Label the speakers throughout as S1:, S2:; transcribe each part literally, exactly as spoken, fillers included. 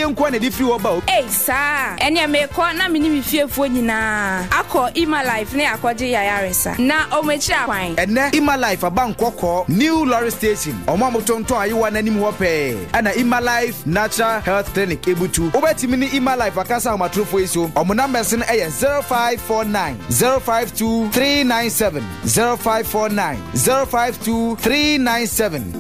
S1: Nko na de firi hɔ ba o.
S2: Ei, saa ɛneɛ mekɔ na mene me fiefoɔ nyinaa akɔ Ima Life ne akɔgye yayaresa na ɔmo akyiri akwan.
S1: Ɛnɛ Ima Life aba Nkɔkɔɔ New Lorry Station, ɔmo a motontɔn ayewa n'anim hɔ pɛɛ ɛna Ima Life Natural Health Clinic ebutu. Wobɛtumi ne Ima Life akasa ahomatorofoɔ yi so. Ɔmo numbers no ɛyɛ zero five four nine zero five two three nine seven, zero five four nine zero five two three nine seven.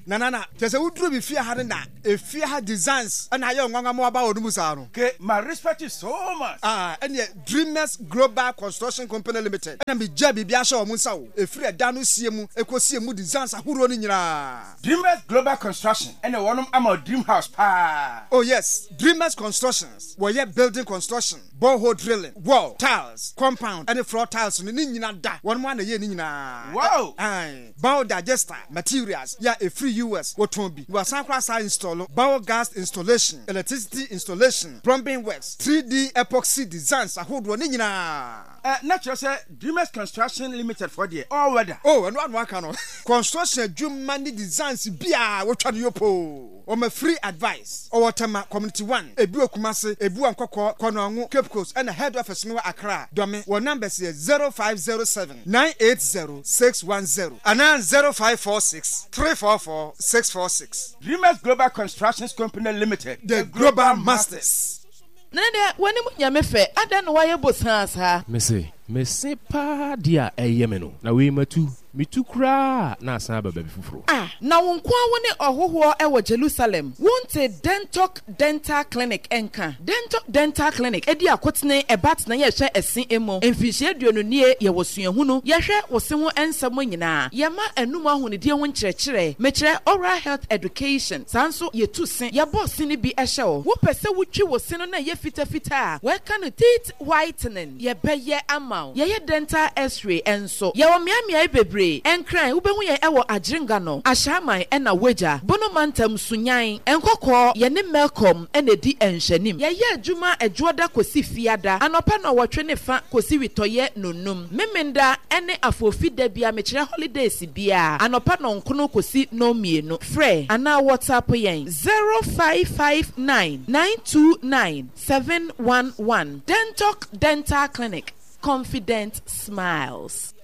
S3: Na na na kyerɛ sɛ woduru bi fie ha no na efie ha designs ɛna ayɛ nwanwa ma waba wɔ no mu saa no.
S4: Okay, my respect you so much.
S3: Ah, ɛneɛ Dreamers Global Construction Company Limited ɛna megya biribi ahyɛ wɔn nsa o, ɛfiri ɛda no sie mu ɛkɔsie mu, designs ahodoɔ no nyinaa.
S4: Dreamers Global Construction ɛna wɔnom ama dream house paa.
S3: Oh yes, Dreamers Constructions, wɔyɛ building construction, borehole drilling, wall tiles, compound ɛne floor tiles no ne nyina da wɔn mu ana yɛ ne nyinaa.
S4: Wow.
S3: Aye. Biodigester materials yɛ a ɛfiri U S wɔtɔn bi na wɔasan koraa saa install biogas installation, electricity installation, plumbing works, three D epoxy designs ahodoɔ ne nyinaa.
S4: Ɛ na kyerɛ sɛ Dreamers Construction Limited fɔ deɛ, all weather.
S3: Oh, ɛno ano aka no, construction adwuma ne designs biaa wotwa no yopoo. Ɔma free advice. Ɔwɔ Tema Community one, ebi wɔ Kumase, ebi wɔ Nkɔkɔɔ, Kɔnɔngo, Cape Coast, ɛna head office no wɔ Accra Dɔme. Wɔ numbers yɛ zero five zero seven nine eight zero six one zero anaa zero five four six three four four six four six.
S4: Dreamers Global Constructions Company Limited.
S3: The Global Masters.
S5: Na deɛ w'anim nyame fɛ, adɛn na woayɛ bosaa saa?
S6: Mese mese paa deɛ a ɛyɛ me no na wei matu metu koraa na asan aba baabi foforɔ.
S5: Ah, na wo nko a wo ne ɔhohoɔ ɛwɔ Jerusalem, wonte Dentok Dental Clinic ɛnka? Dentok Dental Clinic ɛdi akotene ɛba tena yɛhwɛ ɛse emu mfinhyia aduonu nie. Yɛwɔ suahunu, yɛhwɛ wo se ho nsɛm nyinaa, yɛma anum ahonidie ho nkyerɛkyerɛ, mekyerɛ oral health education. Saa nso yɛtu se, yɛbɔ se no bi ɛhyɛ wo. Wopɛ sɛ wotwi wo se no na ɛyɛ fitafita a wɔɛka no teeth whitening, yɛbɛyɛ ama wo. Yɛyɛ dental X-ray nso. Yɛwɔ mmeammea bebree. Ɛnkran, wobɛhu yɛn ɛwɔ Agyerenga no Ahyɛaman, ɛna Wagya Bono Mantam Sunyan Nkɔkɔɔ. Yɛne Melcom ɛna edi nhwɛnim. Yɛyɛ adwuma Ɛdwoɔda kɔsi Fiada anɔpa na ɔwɔtwe ne fa kɔsi witɔyɛ nonum. Memenda ɛne Afofi da bia, mekyerɛ holidays biara, anɔpa nɔnkono kɔsi nɔnmienu. Frɛ anaa WhatsApp yɛn zero five five nine nine two nine seven one one. Dentok Dental Clinic, confident smiles.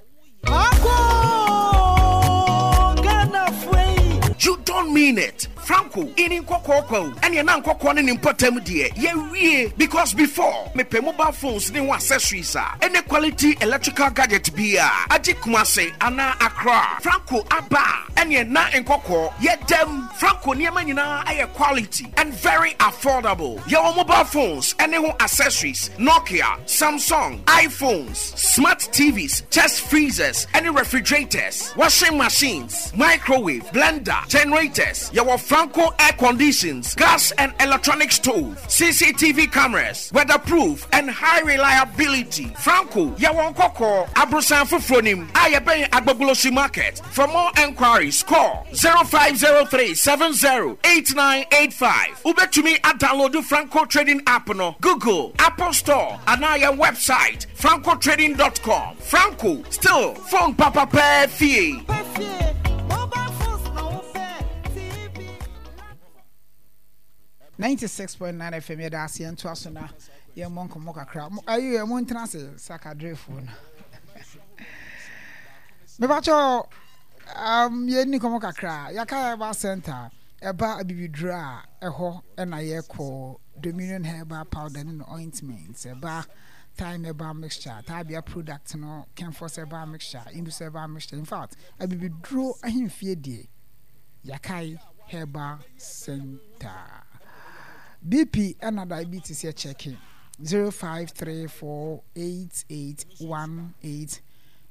S7: You don't mean it. Franco, in Nkɔkɔɔ kwa o. Ɛne na Nkɔkɔɔ ne ne mpɔtam deɛ, yɛwie. Because before, mepɛ mobile phones ne ho accessories a, ɛne quality electrical gadget bi a, agye Kumase anaa Accra. Franco aba a, ɛne na Nkɔkɔɔ, yɛdam. Franco nneɛma nyinaa ɛyɛ quality and very affordable. Yɛwɔ mobile phones ɛne ho accessories, Nokia, Samsung, iPhones, smart T Vs, chest freezers, ɛne refrigerators, washing machines, microwave, blender, generators. Yɛwɔ Franco air conditions, gas and electronic stove, C C T V cameras, weatherproof and high reliability. Franco, yɛwɔ Nkɔkɔɔ, Abrosan foforɔ nim, a yɛbɛn Agbogbloshie Market. For more enquiries, call zero five zero three seventy eighty-nine eighty-five. Wobɛtumi adownload Franco Trading app no, Google, Apple Store, anaa yɛn website francotrading dot com. Franco, still phone papa pɛɛ fie.
S8: ninety-six point nine F M, yɛda ase. Yɛntoa so na yɛmmɔ nkɔmmɔ kakra. Mo- ayi mo ntena ase sakadrefoɔ no, mepakyɛ um, yɛnni nkɔmmɔ kakra. Yɛaka Herbal Center, ɛba abibiduro a ɛhɔ ɛna yɛkɔ Dominion Herbal Powder ne no ointment, ɛba Thyme Herbal Mixture, Tabia product no, Kenfos Herbal Mixture, Indus Herbal Mixture. In fact, abibiduro ahemfie deɛ, Yɛakae Herbal Center. B P ɛna diabetes yɛ checking zero five three four eight eight one eight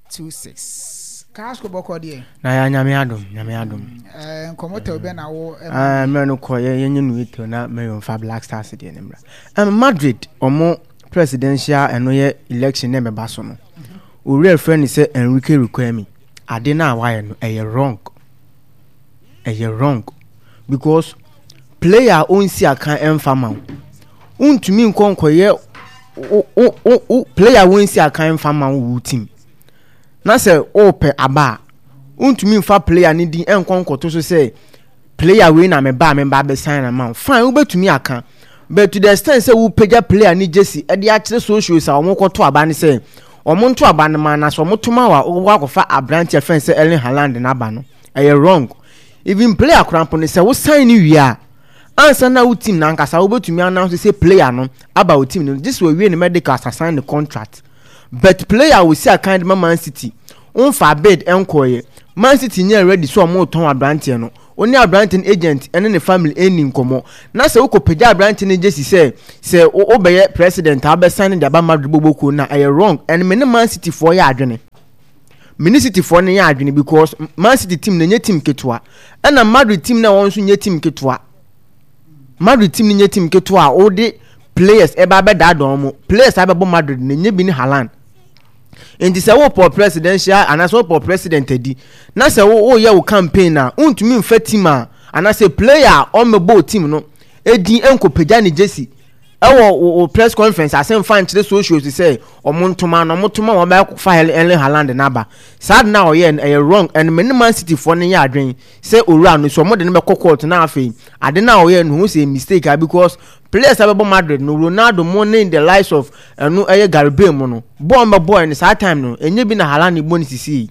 S8: two six. Kaasco, bɔkɔ deɛ?
S9: Na yɛ Nyame adom, Nyame adom.
S8: Ɛɛ nkɔmɔ tɛw bɛ na wo?
S9: Ɛɛ mmerɛ no kɔ yɛ yɛnyɛ no eto na mɛyɛ nfa Black Stars deɛ ne mmra. ɛm Madrid ɔmo presidential ɛno yɛ election na ɛbɛba so no, owura efrɛ ne sɛ Enrique Riquelme, ade na wayɛ no ɛyɛ wrong, ɛyɛ wrong, because player a ɔnsi akan ɛnfa ma wo, wontumi nkɔ nkɔyɛ wo wo wo wo player a wɔnsi akan ɛnfa ma wo wo team na sɛ ɔɔpɛ aba a Wontumi nfa player ne din ɛnkɔ nkɔto so sɛ player wei na meba a meba abɛsan na ma wo. Fine, wobɛtumi aka, but to the extent sɛ wopagya player ne jersey ɛde akyerɛ socials a wɔn kɔto aba ne sɛ wɔn nto aba no ma na sɛ wɔn to ma wa wɔkɔ akɔfa aberanteɛ fɛn sɛ Erling Haaland n'aba no, ɛyɛ wrong. Even player koraa mpo no, sɛ wo sign ne wie a, ansa na wo team nankasa wobɛtumi announce sɛ player no aba wo team no, gye sɛ wɔwie ne medical asasan ne contract. But player a wɔsi akan de ma Man City, wɔmfa bid nkɔɔyɛ, Man City nyɛ ready sɛ ɔmo tɔn aberanteɛ no, wɔne aberanteɛ no agent ne ne family ɛni nkɔmɔ, na sɛ wokɔ pagya aberanteɛ no gyesi sɛ sɛ wobɛyɛ president a wobɛsan ne de aba Madrid bɔbɔkuo no a, ɛyɛ wrong. And me ne Man City foɔ yɛ adwene, me ne City foɔ no yɛ adwene, because Man City team no nyɛ team ketewa, ɛna Madrid team no a wɔn nso nyɛ team ketewa. Madrid team no nyɛ team ketewa a wɔde players ɛba abɛdaadaa wɔn. Players abɛbɔ Madrid no nyɛ bi ne Haaland. Nti sɛ wopɔ presidential anaasɛ wopɔ president adi na sɛ woyɛ wo campaign a, wontumi mfa team a anaasɛ player a ɔmmɛbɔ team no edin nkɔpagya ne jersey ɛwɔ wo press conference ase mfa nkyerɛ socials sɛ ɔmo ntoma na ɔmo toma wɔn bɛfa Erling Haaland n'aba. Saa de na ɔyɛ no ɛyɛ wrong. And me ne Man City foɔ no yɛ adwene sɛ owura no so ɔmo de no bɛkɔ court na afei ade na ɔyɛ no ho sɛ mistake a, because players a bɛbɔ Madrid no, Ronaldo mo ne the likes of ɛno ɛyɛ Gareth Bale mo no, bɔɔl bɛbɔɔ no saa time no, ɛnyɛ bi na Haaland bɔ ne sisi yi.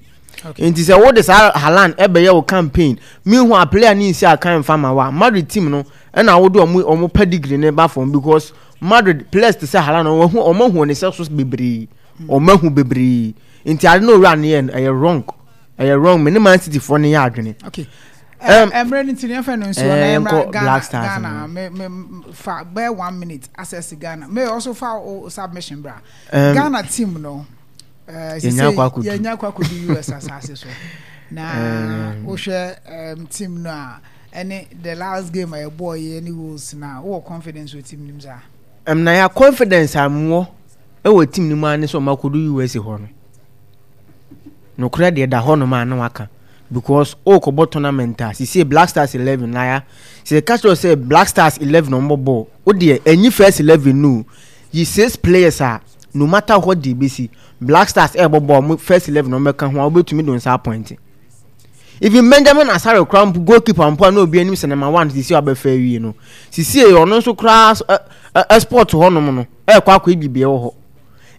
S9: Nti sɛ wode saa Haaland ɛbɛyɛ wo campaign, mehu a player ne nsi akan mfa ma wa Madrid team no, ɛna wode ɔmo ɔmo pedigree ne ba fam, because Madrid players te sɛ Haaland, ɔmo ahu ɔmo ahu ne sɛ so bebree, ɔmo ahu bebree. Nti ade no owura no yɛ no ɛyɛ wrong, ɛyɛ wrong. Me ne Man City foɔ no yɛ adwene.
S8: Okay, mmerɛ no nti no yɛmfa no nsuo na yɛmmra Ghana. Ghana me me fa bɛyɛ one minute access Ghana may also fa o submission bra. Ghana team no,
S9: yɛnya akɔ akɔdu,
S8: yɛnya akɔ akɔdu U S asase so na wohwɛ team no a, ɛne the last game a yɛbɔɔ yɛ ne Wales na wowɔ confidence wɔ team no mu saa?
S9: Um, na yɛ confidence a mewɔ ɛwɔ team no mu a ne sɛ ɔmo akɔdu U S hɔ no, nokorɛ deɛ da hɔ nom a na waka, because ɔrekɔbɔ tournament a sisi Black Stars eleven na ya sɛ yɛka kyerɛ sɛ Black Stars eleven ɔmo bɔ bɔɔl o deɛ, ɛnyi first eleven no, yi six players a, no matter what deɛ ebesi, Black Stars ɛrebɔ bɔɔl, ɔmo first eleven ɔmo bɛka ho a, wobɛtumi de nsa appoint even Benjamin Asare koraa mpo, goalkeeper mpo a na obi anim sɛ number one, sisi a ɔbɛfa awie no, sisi ɔno nso koraa ɛ ɛ sport hɔnom no ɛrekɔ akɔ ebi beɛ wɔ hɔ.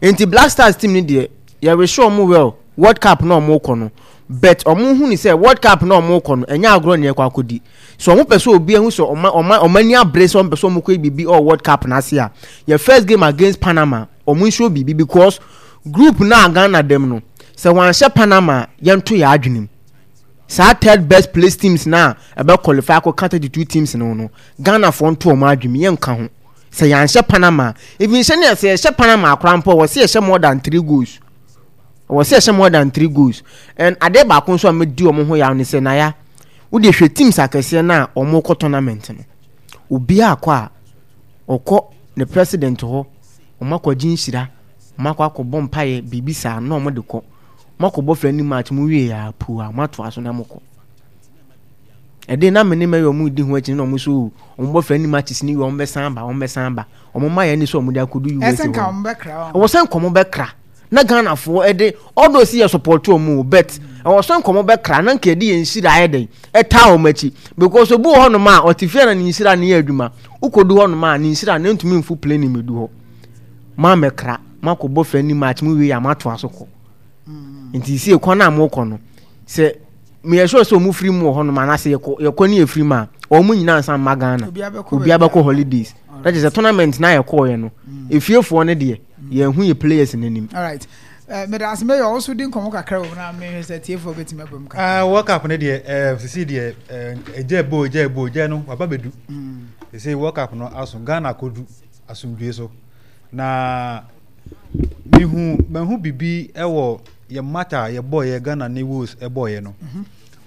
S9: Nti Black Stars team no deɛ, yɛrehyɛ ɔmo well World Cup na ɔmo kɔ no, but ɔmo hu ni sɛ World Cup na ɔmo kɔ no, ɛnyɛ agorɔ na ɛkɔ akɔdi. So ɔmo pɛ sɛ obi ehu sɛ ɔmo ɔmo ɔmo ani abere sɛ ɔmo pɛ sɛ ɔmo kɔ bibi ɔwɔ World Cup n'ase a, yɛ first game against Panama, ɔmo nsuo bibi, because group na Ghana dɛm no, sɛ wɔanhyɛ Panama, yɛnto yɛ adwene mu saa third best place teams na ɛbɛ qualify akɔ thirty two teams no no Ghana foɔ nto ɔmo adwene mu, yɛnka ho sɛ yɛanhyɛ Panama. Even sɛ ne sɛ yɛhyɛ Panama akora mpo, wɔ sɛ yɛhyɛ more than three goals, wɔ sɛ yɛhyɛ more than three goals. And adeɛ baako nso a mɛdi wɔn ho yaw ne sɛ, naya wode hwɛ teams akɛseɛ no a wɔn kɔ tournament no, obiara akɔ a ɔkɔ ne president hɔ, wɔn akɔgye nhyira, wɔn akɔ akɔbɔ mpaeɛ biribi saa na wɔn de kɔ, wɔn akɔbɔ friendly match mu wie a puu a wɔn atoa so na wɔn kɔ. Ɛde na me ne mɛyɛ wɔn di ho akyi na wɔn nso wɔn bɔ friendly matches ni wie, wɔn bɛsan ba, wɔn bɛsan ba, wɔn mma yɛn ni sɛ wɔn de akɔdu U S
S8: ɛsɛ nka
S9: hɔ
S8: wɔn bɛkra wɔn.
S9: Ɛwɔ sɛ nkɔmɔ bɛkra na Ghanafoɔ ɛde ɔdɔ si yɛ support wɔn o, but ɛwɔ sɛ nkɔmɔ bɛkra na nka yɛde yɛn nhyira ayɛ dɛn ɛtaa wɔn akyi, because obi wɔ hɔnom a ɔte fie na ne nhyira ne yɛ adwuma, wokɔdu hɔnom a ne nhyira ne ntumi nfu plane mu edu hɔ. Mo amɛkra, mo akɔbɔ friendly match mo wie a, mo atoa so kɔ. Nti si ekwan a mo kɔ no, sɛ meyɛ sure sɛ ɔmo firi mu wɔ hɔnom anaasɛ yɛkɔ yɛkɔ ne yɛfiri mu a, ɔmo nyinaa nsa mma Ghana.
S8: Obiara bɛkɔ
S9: obiara
S8: baabi
S9: bɛkɔ
S8: a-
S9: holidays na kyerɛ sɛ tournament na yɛkɔɔyɛ no, efiefoɔ no deɛ, yɛn ho yɛ players n'anim.
S8: Alright, uh, meda ase. Meyɛ ɔso di nkɔmmɔ kakra wɔ mu na mehwɛ sɛ tiefoɔ bɛtumi aba mu kakra.
S10: Ah, World Cup no deɛ, ɛɛ sisi deɛ, ɛɛ ɛgya ebo ɛgya ebo ɛgya no waba bɛdu. Sisi World Cup no aso, Ghana akɔdu asomdue so, na mihu mahu bibi ɛwɔ yɛ match a yɛbɔ yɛ Ghana ne Wales ɛbɔ yɛ no.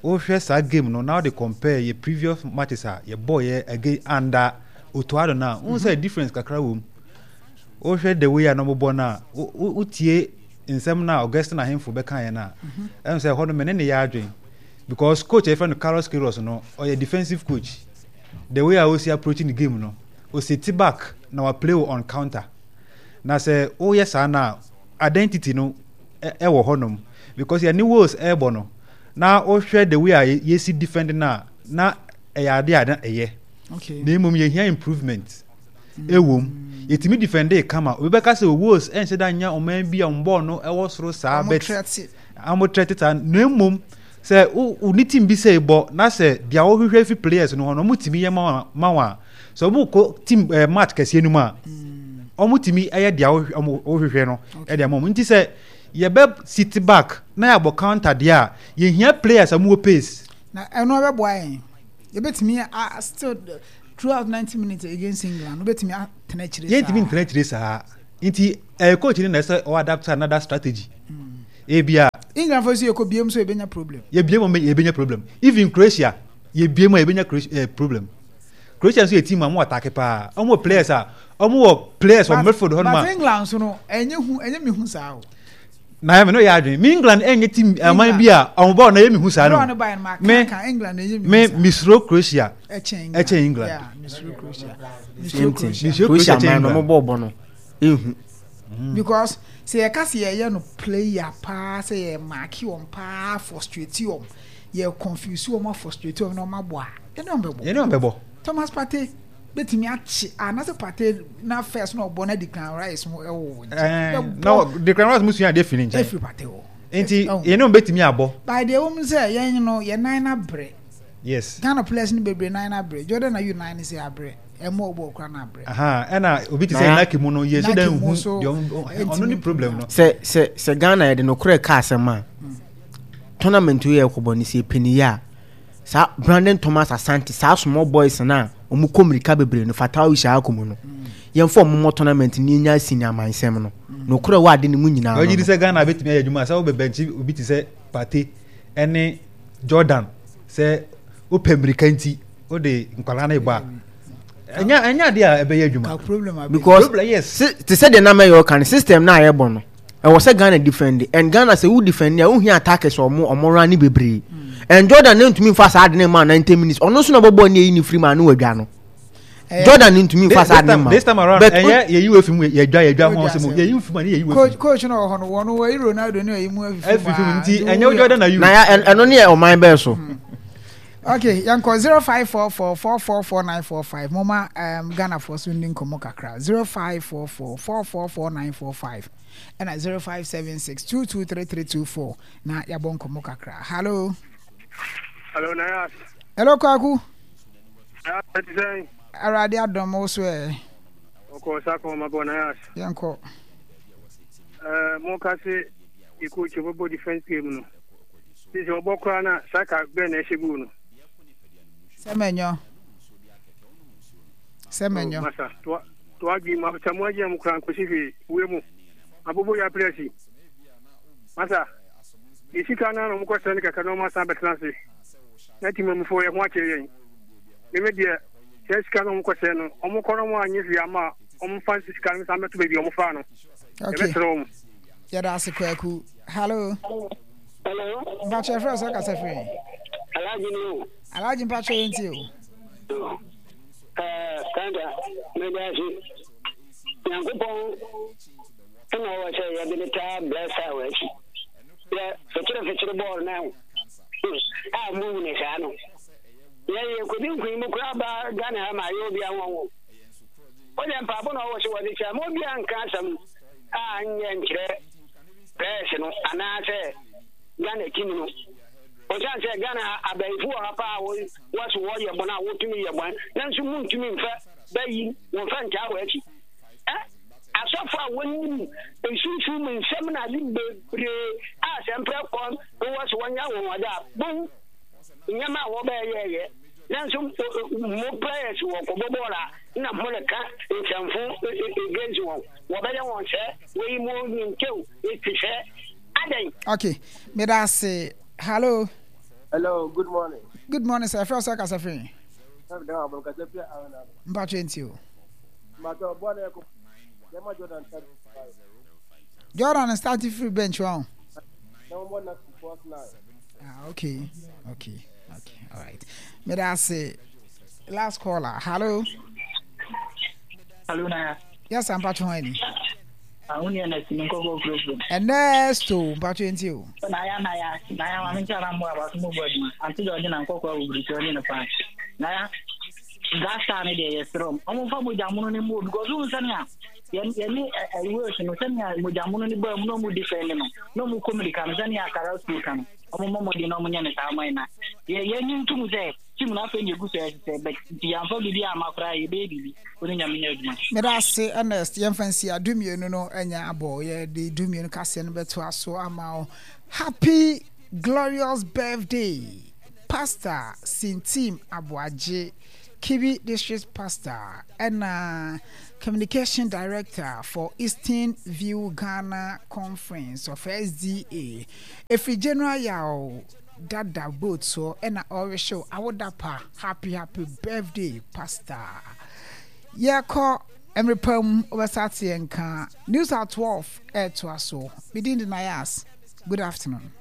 S10: Wohwɛ saa game no na wode compare yɛ previous matches a yɛbɔ yɛ again under Otto Addo no a, wohu sɛ difference kakra wɔ mu. Wohwɛ the way a na ɔmobɔ no a, wo- wo- wotie nsɛm no a Augustine Ahemfo bɛkaeɛ no a, ɛhu sɛ ɛhɔ no me ne ne yɛ adwen, because coach a yɛfrɛ no Carlos Queiroz no, ɔyɛ defensive coach. The way a ɔsi approach ne game no, ɔsit back na wa play on counter, na sɛ woyɛ saa no a, identity no ɛ- ɛwɔ hɔnom, because yɛne Wales ɛrebɔ no, Na wohwɛ the way a yɛsi defend no a, na ɛyɛ ade a na ɛyɛ.
S8: Okay.
S10: Na mmom yɛhia improvement ɛwɔ mu. Yɛtumi defend kama. Obi bɛka sɛ Wolves ɛnhyɛ da nyɛ ɔman bi a wɔn bɔɔl no ɛwɔ soro saa,
S8: Ɔmo
S10: but
S8: trɛte.
S10: ɔmo trɛte saa. Na mmom sɛ wo wo ne team bi sɛ bɔ na sɛ deɛ wɔhwehwɛ fi players no hɔ no, ɔmo tumi yɛ ma wɔn ma wɔn a, sɛ ɔmo kɔ team ɛɛ match kɛseɛ no mu a, ɔmo tumi ɛyɛ deɛ wɔhwehwɛ ɔmo wɔhwehwɛ no ɛde ama ɔmo. Nti sɛ yɛbɛ sit back na yɛabɔ counter deɛ a, yɛhia players a ɔmo wɔ pace.
S8: Na ɛno ɛbɛboa yɛn? Yɛbɛtumi a still throughout ninety minutes against England, wobɛtumi atena akyire saa?
S10: Yɛntumi ntena akyire saa, nti ɛyɛ coach no na ɛsɛ ɔ adapt another strategy ebia.
S8: England fo so yɛkɔ biem so yɛbɛnya problem.
S10: Yɛbie mu a yɛbɛnya problem. Even Croatia, yɛbie mu a yɛbɛnya Croatia eh, problem. Croatia nso yɛ team a wɔn attack paa. Wɔn wɔ players a wɔn wɔ players wɔ midfield hɔ nom
S8: But
S10: a.
S8: England so no, ɛnyɛ hu, ɛnyɛ mi hu saa o.
S10: Na yɛ mi no yɛ adwene mi, England ɛnyɛ team ɛman bi a wɔn bɔɔl na yɛ mi hu saa
S8: Draw
S10: no.
S8: no ba yɛn ma
S10: Me
S8: kan England ɛnyɛ mi
S10: me
S8: hu saa.
S10: Misuro Croatia
S8: ɛkyɛn England.
S10: Ɛkyɛn England.
S8: Yeah, misuro Croatia.
S9: Same
S8: Misuro
S9: thing.
S8: Croatia.
S10: Misuro
S9: Croatia
S10: Croatia kyɛn
S9: man no,
S10: England.
S9: ɔmo bɔɔl bɔ no ehu.
S8: Because sɛ yɛka sɛ yɛyɛ no player paa, sɛ yɛ mark wɔn paa, frustrate wɔn, yɛ confuse wɔn, frustrate wɔn na wɔn abɔ a, yɛne wɔn bɛbɔ.
S10: Yɛne wɔn bɛbɔ.
S8: Thomas Partey bɛtumi akye anaasɛ Partey na first na ɔbɔ na Declan Rice mo ɛwɔ wɔn
S10: ɛɛ
S8: nkyɛn.
S10: Na Declan Rice mu sua adeɛ firi ne nkyɛn.
S8: Efiri Partey hɔ.
S10: Nti
S8: Ɛwɔ.
S10: yɛne wɔn bɛtumi abɔ.
S8: By deɛ wɔn sɛ yɛn no, yɛn nan na brɛ.
S10: Yes.
S8: Ghana players no bebree nan na brɛ. Jordan Ayew nan ne sɛ abrɛ, ɛmɔ ɔbɔ ɔkora na abrɛ.
S10: Aha, ɛna obi te sɛ
S9: Na-
S10: Naki mu no, yɛ sɛ
S8: Naki
S10: dɛ
S8: mu
S10: nhu
S8: so,
S10: deɛ ɔno ɔno ne problem no.
S9: sɛ sɛ sɛ Ghana yɛde nokorɛ ka asɛm a, tournament yi yɛ kɔbɔ no, sɛ yɛpɛ a, saa Brandon Thomas Asante, saa small boys no a ɔmo kɔ mmirika bebree no, Fatawu Issahaku mu no, yɛmfa ɔmo mmɔ tournament no, yɛnya asi ne amansɛm no nokorɛ wɔ ade ne mu nyinaa no
S10: ɔgye di
S9: no.
S10: sɛ Ghana bɛtumi ayɛ adwuma sɛ wobɛbɛnkye obi te sɛ Partey ɛne Jordan sɛ wopɛ mmirika nti wode nkwadaa no bɔ a, ɛnyɛ ɛnyɛ adeɛ a ɛbɛyɛ adwuma.
S8: Ka problem abɛ.
S9: Because
S10: Problem, yes.
S9: si- te sɛ deɛ nam ɛyɛ ɔka no, system no a yɛbɔ no, ɛwɔ sɛ Ghana defend, and Ghana sɛ wo defend a, wohia attackers a ɔmo ɔmo run ne bebree, and Jordan ne ntumi nfa saa ade ne ma ninety minutes. Ɔno nso na ɔbɛbɔ ne eyi ne firi mu a ne wadwa no.
S8: Ɛyɛ-
S9: Jordan ne ntumi nfa
S10: This
S9: saa ade ne
S10: time
S9: ma.
S10: This time around
S9: But
S10: ɛnyɛ yɛyi wo efi mu, yɛdwa yɛdwa ho
S8: Yɛdwa
S10: asɛm o.
S8: asɛm.
S10: Yɛyi wo fi mu a ne yɛyi wo
S8: Coach
S10: efi mu.
S8: Coach no wɔ hɔ no, wɔn wɔyi Ronaldo ne ɔyi mu afifi
S10: Efi mu
S8: a,
S10: nti
S8: nti
S10: ɛnyɛ wo
S8: woyɛ-
S10: Jordan Ayew.
S9: Na ya ɛn- ɛno ne yɛ ɔman bɛɛ so.
S8: Okay, yɛnkɔ zero five four four four four four nine four five. Moma um, Ghanafoɔ so ndi nkɔmmɔ kakra. zero five four four four four four nine four five ɛna zero five seven six two two three three two four na yɛabɔ nkɔmmɔ kakra. Hello.
S11: Hello, Nayas.
S8: Hello, Kwaku.
S11: Nayas, ɛte sɛn?
S8: Awurade adɔm, wo so ɛ?
S11: Ɔkɔ sa kɔ ma bɔ Nayas.
S8: Yɛnkɔ.
S11: Ɛɛ, mo ka se yɛ coach ɔbɛbɔ defense game no. Sisi ɔbɔ koraa na Saka bɛn na ɛhyɛ goal no.
S8: Sɛ mɛnyɔ sɛ mɛnyɔ.
S11: Oh, masa, to to adwi mu sɛ mo agye mo koraa nkosi hwee wei mu. Abobo yɛ players yi. Masa, yɛ sika no na ɔmo kɔ sɛ ne kɛkɛ na ɔmo asan bɛtena ase. Na ti mamufoɔ yɛ ho akyerɛ yɛn. Meme deɛ, sɛ sika no ɔmo kɔ sɛ no, ɔmo kɔ no ɔmo anyɛ hwee ama a, ɔmo fa sika no san bɛto baabi a ɔmo faa no.
S8: Okay.
S11: Yɛbɛsrɛ wɔn.
S8: Yɛda ase, Kwaku. Hello.
S12: Hello.
S8: Mpakyɛ, frɛ sɛ kasa firi?
S12: Alhaji ni o.
S8: Alhaji, mpakyɛ, yɛntie o.
S12: Ɛɛ Kanta, meda ase. Nyankopɔn ɛna ɔwɔ sɛ yɛde ne taa bless a wɔ akyi. Yɛ fikyere fikyere bɔɔl na ɛho. A mu ne saa no. Yɛ yɛ kodi nkunim koraa ba Ghana ha ma ayɛ obi anwanwo. Wode mpaabɔ na ɔwɔ sɛ wɔde kyɛ ma obi anka asɛm a nyɛ nkyerɛ players no anaasɛ Ghana team no. Ɔsan sɛ Ghana abayifo wɔ ha paa a wɔso wɔyɛ bɔn a wotumi yɛ bɔn, nanso muntumi mfa bɛyi wɔmfa ntaa wɔ akyi. Ɛ asɔfo a wɔnim nsunsum mu nsɛm na ade bebree a sɛ mprɛ kɔ wɔ so wɔnyɛ wɔn ade a bohu nneɛma a wɔbɛyɛyɛ, nanso mo players wɔ kɔbɔ bɔɔl a na mo reka nsɛmfo against wɔn, wɔbɛyɛ wɔn sɛ wɔyi mo ntew ti sɛ adɛn?
S8: Okay, meda ase. Hello.
S13: Hello, good morning.
S8: Good morning sir. Frɛ sɛ kasa firi? Mpakyɛ, ntie o.
S13: Mbato bɔ na ɛkɔ yɛma Jordan start.
S8: Jordan start free bench wɔn.
S13: Na wɔn bɔ na first nine.
S8: Ah, okay okay okay all right, meda ase. Last caller. Hello.
S14: Hello, Naya.
S8: Yes, mpakyɛ, ho ani?
S14: Ah, wo nua na si me nkɔkɔ kurokuro.
S8: Ernesto, mpatwe nti o.
S14: Na ya na ya na ya maame nkyɛn na mmoa abaso mo bɔ adwuma. Ante deɛ ɔgye na nkɔkɔ awo biriki ɔne no paa. Na ya Black Star ne deɛ yɛsrɛ ɔmo. Ɔmo mfa mogya mono ne mu o because wohu sɛnea yɛn yɛne ɛyi Wales no sɛnea mogya mono ne baa mu na ɔmo defend no na ɔmo kɔ mirika no sɛnea Carrasco ka no ɔmo mmɔ mmɔden na ɔmo nyɛ no saa ma na yɛ yɛnyi ntom sɛ team no afei na egu so ɛsesɛ but nti yɛamfa biribi amma koraa yɛbɛyɛ biribi wo ne Nyame nyɛ adwuma.
S8: Meda ase Ernest, yɛmfa nsi a dumienu no anya abɔ, yɛde dumienu kaseɛ no bɛtoa so ama wo. Happy glorious birthday Pastor Sintim Aboagye, Kibi District Pastor ɛna Communication Director for Eastern View Ghana Conference of S D A. Ɛfiri General Yaw Dada boat soɔ ɛna ɔrehyew awoda pa. Happy happy birthday Pastor. Yɛkɔ mmerɛ pa mu wobɛsa ate yɛn nka. News at twelve ɛretoa so. Me din de Nayas. Good afternoon.